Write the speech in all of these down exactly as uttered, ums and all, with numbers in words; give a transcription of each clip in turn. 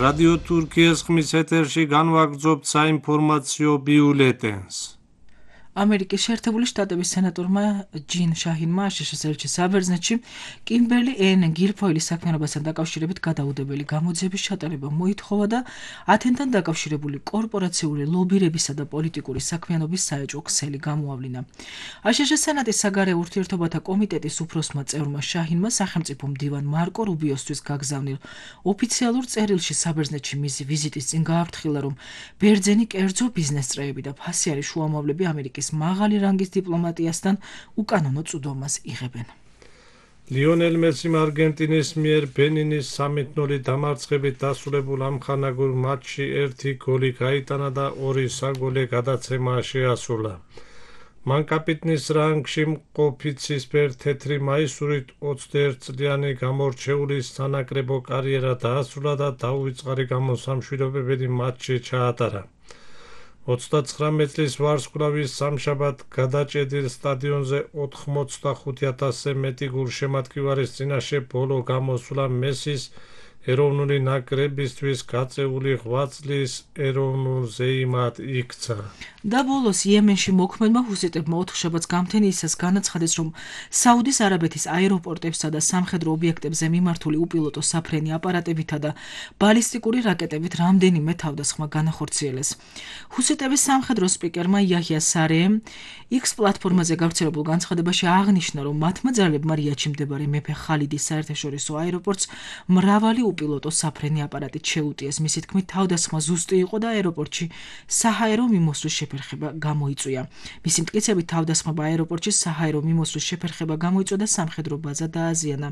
რადიო თურქიის ხმის ეთერში განვაგრძობთ საინფორმაციო ბიულეტენს. ამერიკის შეერთებული შტატების სენატორმა ჯინ შაჰინმა აშშ-ის ელჩის საბერძნეთში კიმბერლი ენ გილფოილის საქმიანობასთან დაკავშირებით გადაუდებელი გამოძიების ჩატარება მოითხოვა და ათენთან დაკავშირებული კორპორაციული ლობირებისა და პოლიტიკური საქმიანობის საეჭვო ქსელი გამოავლინა. აშშ-ის სენატის საგარეო ურთიერთობათა კომიტეტის უფროსმა წევრმა შაჰინმა სახელმწიფო მდივან მარკო რუბიოსთვის გაგზავნილ ოფიციალურ წერილში საბერძნეთში მისი ვიზიტის წინ გააფრთხილა, რომ ბერძენი კერძო ბიზნეს წრეები და ფასიანი შუამავლები ამერიკის მაღალი რანგის დიპლომატიასთან უკანონო წვდომას იღებენ. ლიონელ მესიმ არგენტინის მიერ ბენინის სამით ნული დამარცხებით დასრულებულ ამხანაგურ მატჩში ერთი გოლი გაიტანა და ორი საგოლე გადაცემა შეასრულა. მან კაპიტნის რანგში მყოფი ცისფერ თეთრი მაისურით ოცდაერთი წლიანი გამორჩეული სანაკრებო კარიერა დაასრულა და დაუვიწყარი გამოსამშვიდობებელი მატჩი ჩაატარა. ოცდაცხრამეტ წლის ვარსკვლავის სამშაბათ გადაჭედილ სტადიონზე ოთხმოცდახუთი ათასზე მეტი გულშემატკივარის წინაშე ბოლო გამოსვლა მესის ეროვნული ნაკრებისთვის გაწეული ღვაწლის ეროვნულ ზეიმად იქცა. და ბოლოს იემენში მოქმედმა ჰუსიტებმა ოთხშაბათს გამთენიისას განაცხადეს, რომ საუდის არაბეთის აეროპორტებსა და სამხედრო ობიექტებზე მიმართული უპილოტო საფრენი აპარატებითა და ბალისტიკური რაკეტებით რამდენიმე თავდასხმა განახორციელეს. ჰუსიტების სამხედრო სპიკერმა იაჰია სარეემ X პლატფორმაზე გავრცელებულ განცხადებაში აღნიშნა, რომ მათმა ძალებმა რიადში მდებარე მეფე ხალიდის საერთაშორისო აეროპორტს მრავალი უპილოტო საფრენი აპარატით შეუტიეს. მისი თქმით, თავდასხმა ზუსტი იყო და აეროპორტში საჰაერო მიმოსვლის შეფერხება გამოიწვია. მისი მტკიცებით, თავდასხმება აეროპორტში საჰაერო მიმოსვლის შეფერხება გამოიწვია და სამხედრო ბაზა დააზიანა.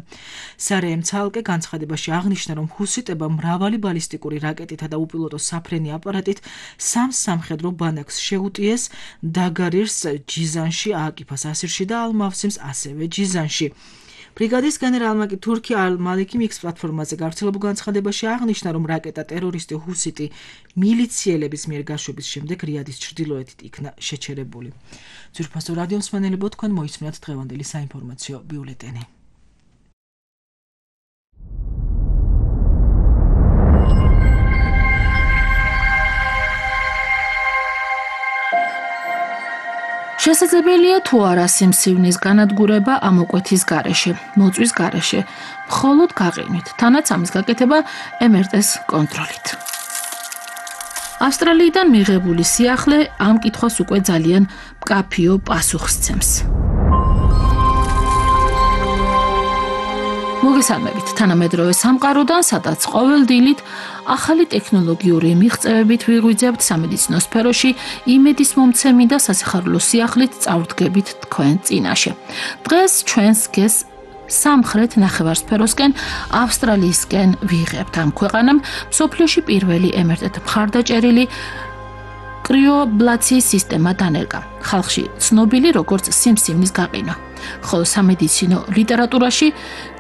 სარეემ ცალკე განცხადებაში აღნიშნა, რომ ჰუსიტებმა მრავალი ბალისტიკური რაკეტითა და უპილოტო საფრენი აპარატით სამ სამხედრო ბანაკს შეუტიეს დაგარირს ჯიზანში, ააკიფას ასირში და ალ-მავსიმს ასევე ჯიზანში. ბრიგადის გენერალმა კი თურქი ალ-მალიქი X პლატფორმაზე გავრცელებულ განცხადებაში აღნიშნა, რომ რაკეტა ტერორისტი ჰუსიტი მილიციელების მიერ გაშვების შემდეგ რიადის ჩრდილოეთით იქნა შეჩერებული. ძვირფასო რადიო მსმენელებო, თქვენ მოისმინათ დღევანდელი საინფორმაციო ბიულეტენი. შესაძლებელია თუ არა სიმსივნის განადგურება ამოკვეთის გარეშე, მოწვის გარეშე, მხოლოდ გაყინვით, თანაც ამის გაკეთება ემ ერ ტე-ს კონტროლით. ავსტრალიიდან მიღებული სიახლე ამ კითხვას უკვე ძალიან მკაფიო პასუხს სცემს. მოგესალმებით თანამედროვე სამყაროდან, სადაც ყოველ დილით ახალი ტექნოლოგიური მიღწევებით ვიღვიძებთ სამედიცინო სფეროში იმედის მომცემი და სასიხარულო სიახლით წავდგებით თქვენ წინაშე. დღეს ჩვენს გეს სამხრეთ ნახევარსფეროსკენ ავსტრალიისკენ ვიღებთ. ამ ქვეყანამ მსოფლიოში პირველი ემ ერ ტე მხარდაჭერილი კრიოაბლაციის სისტემა დანერგა. ხალხში ცნობილი როგორც სიმსივნის გაყინვა. ხოლო სამედიცინო ლიტერატურაში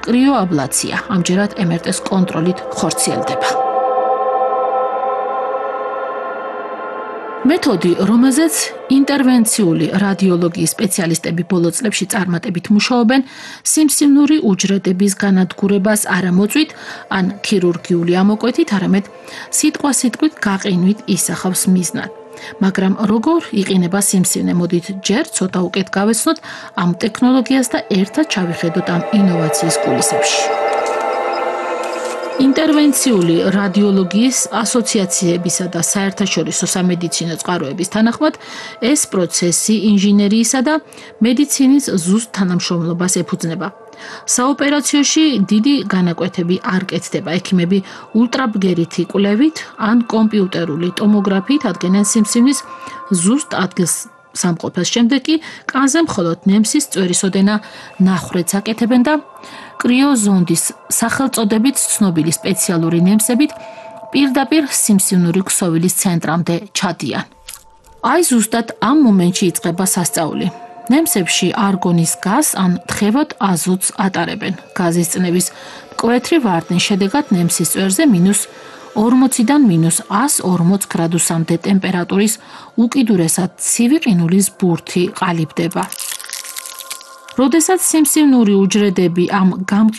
კრიოაბლაცია ამჯერად ემ ერ ტე-ს კონტროლით ხორციელდება. მეთოდი, რომელზეც ინტერვენციული რადიოლოგიის სპეციალისტები ბოლო წლებში წარმატებით მუშაობენ, სიმსივნური უჯრედების განადგურებას არა მოწვით ან ქირურგიული ამოკვეთით, არამედ სიტყვასიტყვით გაყინვით ისახავს მიზნად. მაგრამ როგორ იყინება სიმსივნე, მოდით ჯერ ცოტა უკეთ გავეცნოთ ამ ტექნოლოგიას და ერთად ჩავიხედოთ ამ ინოვაციის კულისებში. ინტერვენციული რადიოლოგიის ასოციაციებისა და საერთაშორისო სამედიცინო წყაროების თანახმად, ეს პროცესი ინჟინერიისა და მედიცინის ზუსტ თანამშრომლობას ეფუძნება. საოპერაციოში დიდი განაკვეთები არ კეთდება. ექიმები ულტრაბგერითი კვლევით ან კომპიუტერული ტომოგრაფიით ადგენენ სიმსივნის ზუსტ ადგილს სამყოფელს. შემდეგ კი კანზე მხოლოდ ნემსის წვერისოდენა ნახვრეთს აკეთებენ და კრიოზონდის სახელწოდებით ცნობილი სპეციალური ნემსებით პირდაპირ სიმსივნური ქსოვილის ცენტრამდე ჩადიან. აი ზუსტად ამ მომენტში იწყება სასწაული. ნემსებში არგონის გაზს ან თხევად აზოტს ატარებენ. გაზის წნევის მკვეთრი ვარდნის შედეგად ნემსის წვერზე მინუს ორმოციდან მინუს ას ორმოც გრადუსამდე ტემპერატურის უკიდურესად ცივი ყინულის ბურთი ყალიბდება. როდესაც სიმსივნური უჯრედები ამ